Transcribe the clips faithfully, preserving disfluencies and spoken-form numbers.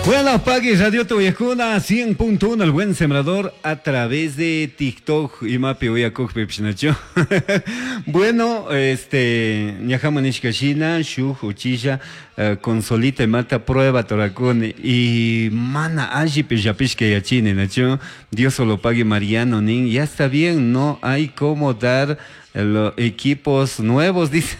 Bueno, Pagui Radio Tuyajuna cien punto uno, el buen sembrador, a través de TikTok y Mapi Uyakukpi Pishnacho. Bueno, este, ñajama nishkashina, shuj uchilla, eh, consolita mata prueba torakuni y mana alli pillapishka yachini, nacho. Dios solo pague Mariano nin, ya está bien, no hay cómo dar los equipos nuevos, dice.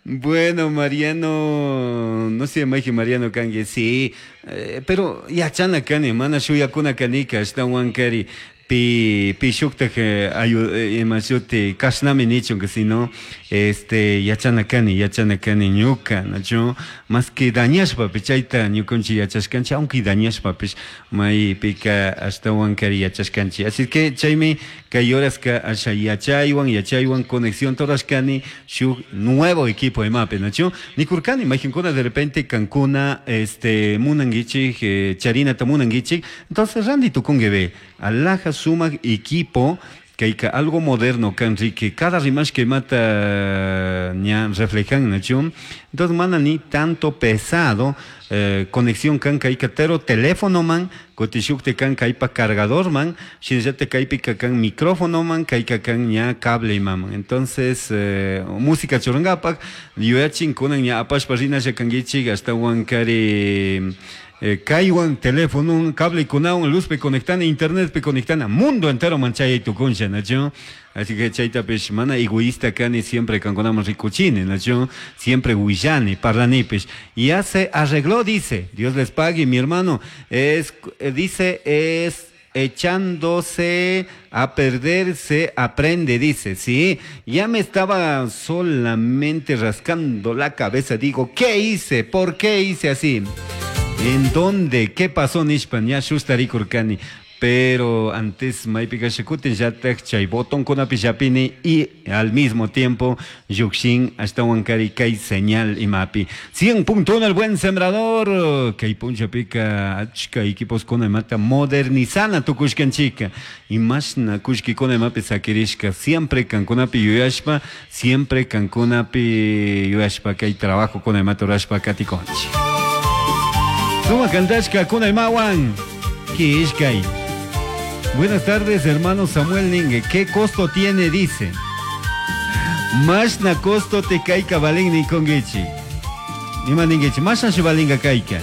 Bueno, Mariano, no sé, Maji Mariano kangue, sí, eh, pero yachana kani, mana shuyakuna kanika, ashtawan kari, pi, pi shuktaj, ayu, imashuti, kashnami nichun, que si no, este, yachana kani, yachana kani ñuka, nacho, más que dañashpa, pichayta ñukunchi yachashkanchi, aunque dañashpa, pish, may pika ashtawan kari yachashkanchi. Así que chaymi, kay horaska asha yachaywan, yachaywan, conexión torashkani, shuk nuevo equipo imapi, nacho, nikurkani, majinkuna de repente kankuna, este, munanguichik, eh, charinata munanguichik, entonces randi tukungue alhaja sumak equipo, que algo moderno, Enrique, cada rimash que mata ña reflejan, nacho. Entonces, mana ni tanto pesado, eh, conexión kan kaikatero, teléfono man, kotishukte kan kaipa cargador man, shinjate kaipika kan micrófono man, kaika kan ña cable man. Entonces, eh, música chorangapak, yuyachin kunan ña apashpa rinasha kangichik, hasta wankari. Eh, kaiwan, teléfono, cable kunawan, luz pe conectana, internet pe conectana, mundo entero manchaya y tu concha, nacho. Así que chayta pes, mana egoísta kani siempre kankonamos ricuchine, nacho, siempre huillani, parlanipes. Ya se arregló, dice, Dios les pague, mi hermano, es, dice, es echándose a perder se aprende, dice, sí, ya me estaba solamente rascando la cabeza, digo, ¿qué hice? ¿Por qué hice así? ¿En dónde? ¿Qué pasó, Nishpan? Ya shustari kurkani. Pero antes maypika shikutin yatak chay botón con apillapini y al mismo tiempo yuxin hasta wankari kay señal imapi. cien punto uno el buen sembrador. Kay puncha pica achka equipos con mata modernizana tukushkan chica. Y más na kushki con mapi sakirishka. Siempre kankunapi yuyashpa, siempre kankunapi yuyashpa kay trabajo con mata urashpa katikonchi. Suma kantashka kunaymawan. Kishkay. Buenas tardes, hermano Samuel Ningue. ¿Qué costo tiene? Dice. Mashna costo te kaika balin ni kongechi. Ima ningechi, mashna shibalinga kaika.